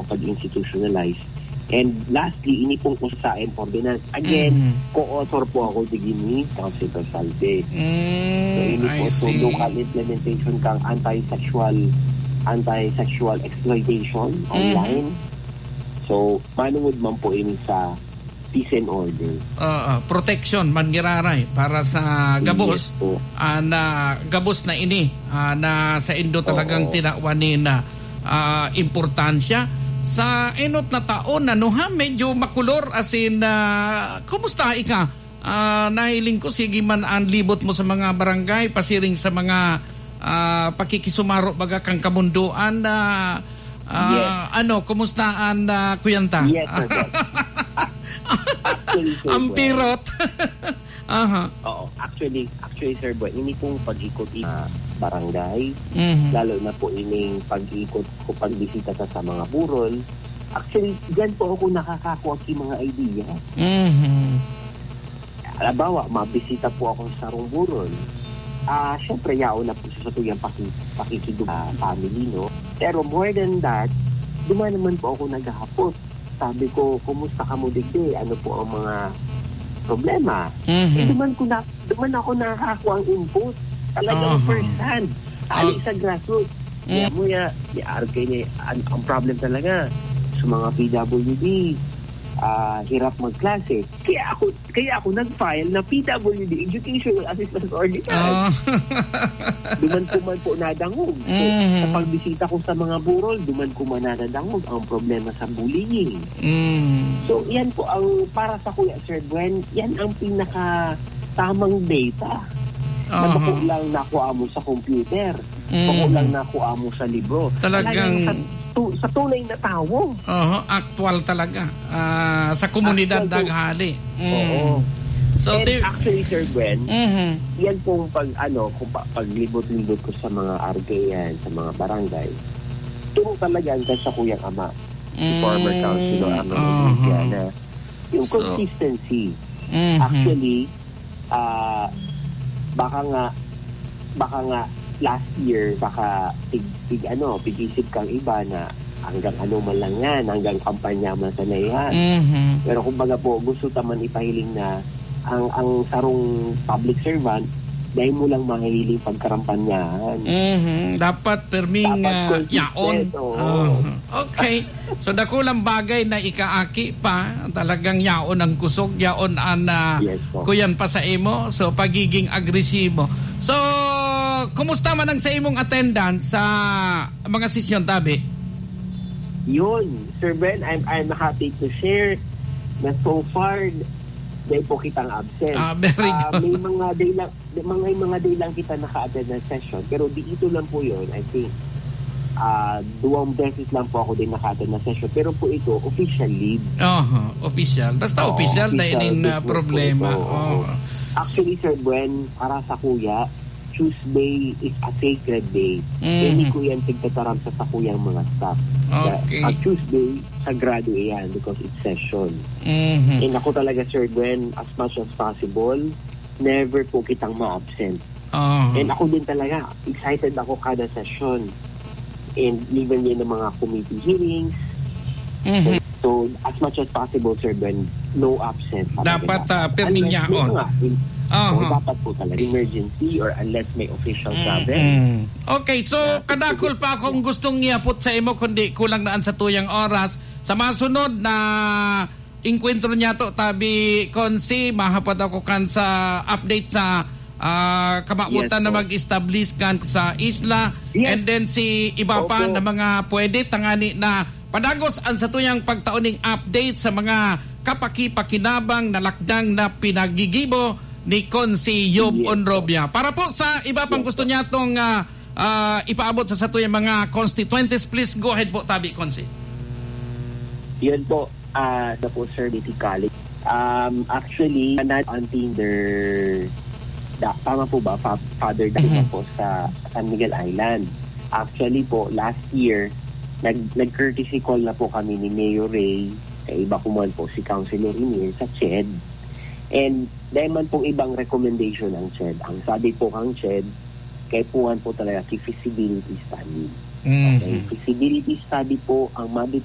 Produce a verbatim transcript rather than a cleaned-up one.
pag-institutionalize. And lastly, ini pong usa sa ordinance. Again, Mhm. co-author po ako digdi ni Councilor Salve. Mm, So, ini I po, so see. local implementation kang anti-sexual, anti-sexual exploitation Mhm. online. So, manungod man po ini sa peace and order. Oo, protection man giraray para sa gabos. Yes po. Ah, na gabos na ini, ah, na saindo talagang Oo. tinawan ni na, ah, importansya. Sa enot na taon, ano ha, medyo makulor, as in, ah, kumusta ika? Ah, nahiling ko, sige man ang libot mo sa mga barangay, pasiring sa mga, ah, pakikisumaro baga kang kamundoan na, ah, Yes. ano, kumusta ang, ah, kuyanta? Yes, sir, boss. Actually, sir, Ang boss. pirot. Aha. Oo, actually, actually, sir, boss, ini pong pag-ikot sa barangay, Mhm. lalo na po ining pag-ikot ko, pagbisita sa, sa mga burol, actually, diyan po ako nakakakuha ng mga idea. Mhm. Halimbawa, mabisita po ako sa sarong burol. Ah, syempre, yaon na po sa tuyang paki-, pakikido-, ah, family, no? Pero more than that, duman naman po ako naghahapot. Sabi ko, "Kumusta ka mo digdi? Ano po ang mga problema?" Mhm. Eh, duman ko na, duman ako nakakakuha ang input. Talagang Aha. first hand. Hali Ah. sa grassroots. Mm. Kaya mo ya, ni R K ni, ang, ang problem talaga sa mga P W D, ah, hirap magklase. Kaya ako, kaya ako nag-file na P W D Educational Assistance Ordinance. Ah. Duman ko man po nadangog. So, Mhm. sa pagbisita ko sa mga burol, duman ko man nadangog ang problema sa bullying. Mm. So, yan po ang para sa kuya, Sir Gwen, yan ang pinaka tamang data. Na Aha. bako lang nakuha mo sa computer. Mhm. Bako lang nakuha mo sa libro. Talagang Talagang sa tu-, sa tunay na tawo. Oho, aktual talaga. Ah, sa komunidad Actual po. naghali. Mm. Oo. So, And ti- actually, Sir Gwen, Mhm. yan pong pag, ano, kung pa, paglibot-libot ko sa mga R K yan, sa mga barangay, turo talaga ang sa kuyang ama, si former Mm. councilor Arnold Aha. Iglesias, na yung So, consistency. Mhm. Actually, ah, baka nga, baka nga last year, baka pig-, pig-, ano, pig-isip kang iba na hanggang ano man lang yan, hanggang kampanya man sana yan. Mhm. Pero kumbaga po, gusto ta man ipahiling na ang, ang sarong public servant, dahil mo lang mahihiling pagkarampanyahan. Mhm. Dapat perming, Dapat ah, consistent, yaon. oo. Ah, okay. So, dakulang bagay na ikaaki pa, talagang yaon ang kusog, yaon ang, ah, Yes po. kuyan pa sa imo. So, pagiging agresibo. So, kumusta man ang sa imong attendance sa mga sesyon, tabi? Yun, Sir Ben, I'm, I'm happy to share na so far, dahil po kitang absent. Ah, very Ah, good. may mga day lang, may mga, mga day lang kita naka-attend ng session, pero di ito lang po yun, I think. Ah, duwang beses lang po ako din naka-attend ng session, pero po ito, official leave. Aha, official. Basta Oo, official, dahil official in, ah, business po problema. ito, oo. Oo. Actually, Sir Gwen, para sa kuya, Tuesday is a sacred day. Mhm. Hindi ko yan pagtataram sa sakuyang mga staff. Okay. Pag Tuesday, sagrado iyan because it's session. Mhm. And ako talaga, Sir Gwen, as much as possible, never po kitang ma-absent. Aha. And ako din talaga, excited ako kada session. And even yun ng mga committee hearings. Mhm. So, so, as much as possible, Sir Ben, no absent. Dapat, ah, pirming Unless may yaon. mga in-, Aha. o dapat po talaga emergency or unless may official Mm, travel. mm. Okay, so, Yeah, kadakol pa akong gustong iapot sa imo, kundi kulang na ang satuyang oras. Sa masunod na enkwentro niyato, tabi, Consi, mahapot ako kan sa update sa, ah, kamawotan Yes, na po. mag-establish kan sa isla. Yes. And then si iba pa Opo. na mga pwede tangani na padagos ang satuyang pagtao ning update sa mga kapakipakinabang na lakdang na pinagigibo ni Consi Yob Yes, po. Onrobia. Para po sa iba pang Yes, gusto po. niya tong, ah, ah, ipaabot sa satuyang mga constituentes, please go ahead po, tabi, Consi. Yun po, ah, na po, Sir, City College. Um, actually, not on Tinder. Da-, tama po ba? Fa-, Father Dahil Mhm. po sa San Miguel Island. Actually po, last year, nag-, nag-courtesy call na po kami ni Mayor Ray, kaiba ko man po si Councilor Emil sa CHED. And dahil man pong ibang recommendation ang CHED. Ang sabi po kang CHED, kaipuhan po talaga ki feasibility study. Mhm. Okay, feasibility study po ang ma-determine